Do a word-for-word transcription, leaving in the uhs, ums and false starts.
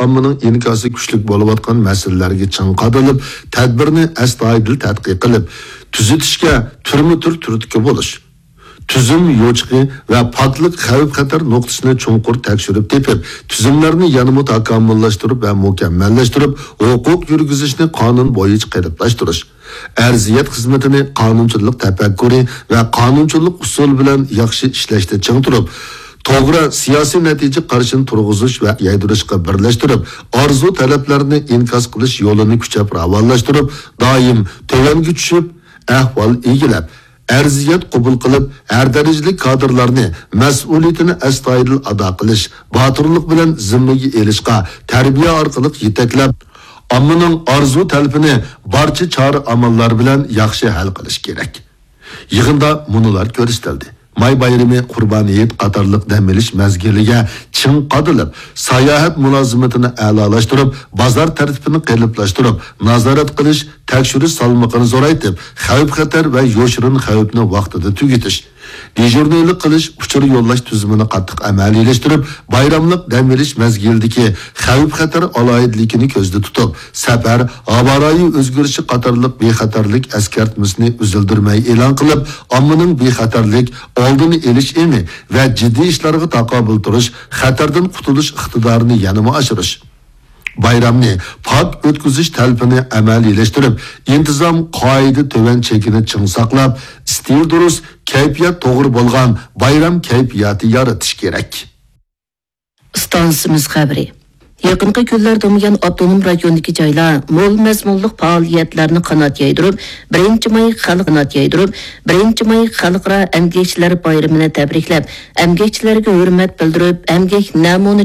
ئاممىنىڭ ئىنكاسى كۈچلۈك بولۇۋاتقان مەسىلىلەرگە چىڭ قادىلىپ، تەدبىرنى ئەستايىدىل تەتقىق قىلىپ، تۈزىتىشكە تۈرمە-تۈر تۈرتكە بولۇش، تۈزۈم يوچۇقى ۋە پاكلىق خەۋپ-خەتەر نۇقتىسىنى چوڭقۇر تەكشۈرۈپ تېپىپ، تۈزۈملەرنى يەنىمۇ تاكامۇللاشتۇرۇپ ۋە مۇكەممەللەشتۈرۈپ، ھوقۇق يۈرگۈزۈشنى قانۇن بويىچە قېلىپلاشتۇرۇش، ئەرزىيەت خىزمىتىنى قانۇنچىلىق تەپەككۇرى ۋە قانۇنچىلىق ئۇسۇلى بىلەن ياخشى ئىشلەشتە چىڭ تۇرۇپ، توغرا سىياسىي نەتىجە قارىشىنى تۇرغۇزۇش ۋە يايدۇرۇشقا بىرلەشتۈرۈپ، ئارزۇ تەلەپلەرنى ئىنكاس قىلىش يولىنى كۈچەپ راۋانلاشتۇرۇپ، دائىم تۆۋەنگە چۈشۈپ، ئەھۋال ئىگىلەپ، ئەرزىيەت قوبۇل قىلىپ، ھەر دەرىجىلىك كادىرلارنى مەسئۇلىيىتىنى ئەستايىدىل ئادا قىلىش، باتۇرلۇق بىلەن زىممىگە ئېلىشقا تەربىيە ئارقىلىق يېتەكلەپ، ئاممىنىڭ ئارزۇ تەلىپىنى بارچە چارە-ئاماللار بىلەن ياخشى ھەل قىلىش كېرەك. يىغىندا مۇنۇلار كۆرسىتىلدى. ماي بايرىمى، قۇربان ھېيت قاتارلىق دەم ئېلىش مەزگىلىگە چىڭ قادىلىپ، ساياھەت مۇلازىمىتىنى ئەلالاشتۇرۇپ، بازار تەرتىپىنى قېلىپلاشتۇرۇپ، نازارەت قىلىش، تەكشۈرۈش سالمىقىنى زورايتىپ، خەۋپ-خەتەر ۋە يوشۇرۇن خەۋپنى ۋاقتىدا تۈگىتىش، دېژۇرنىيلىق قىلىش، ئۇچۇر يوللاش تۈزۈمىنى قاتتىق ئەمەلىيلەشتۈرۈپ، بايراملىق دەم ئېلىش مەزگىلىدىكى خەۋپ-خەتەر ئالاھىدىلىكىنى كۆزدە تۇتۇپ، سەپەر، ھاۋا رايى ئۆزگىرىشى قاتارلىق بىخەتەرلىك ئەسكەرتمىسىنى ئۈزۈلدۈرمەي ئېلان قىلىپ، ئاممىنىڭ بىخەتەرلىك، ئالدىنى ئېلىش ئېڭى ۋە جىددىي ئىشلارغا تاقابىل تۇرۇش، خەتەردىن قۇتۇلۇش ئىقتىدارىنى يەنىمۇ ئاشۇرۇش. بايرامنى پاك ئۆتكۈزۈش تەلىپىنى ئەمەلىيلەشتۈرۈپ، ئىنتىزام، قائىدە، تۆۋەن چېكىنى چىڭ ساقلاپ، ئىستىل دۇرۇس، كەيپىيات توغرا بولغان بايرام كەيپىياتى يارىتىش كېرەك. ئىستانسىمىز خەۋىرى. يېقىنقى كۈنلەردە بۇيان ئاپتونوم رايوندىكى جايلار مول مەزمۇنلۇق پائالىيەتلەرنى قانات يايدۇرۇپ، بىرىنچى ماي خەلق، قانات يايدۇرۇپ، بىرىنچى ماي خەلقئارا ئەمگەكچىلەر بايرىمىنى تەبرىكلەپ، ئەمگەكچىلەرگە ھۆرمەت بىلدۈرۈپ، ئەمگەك نەمۇنە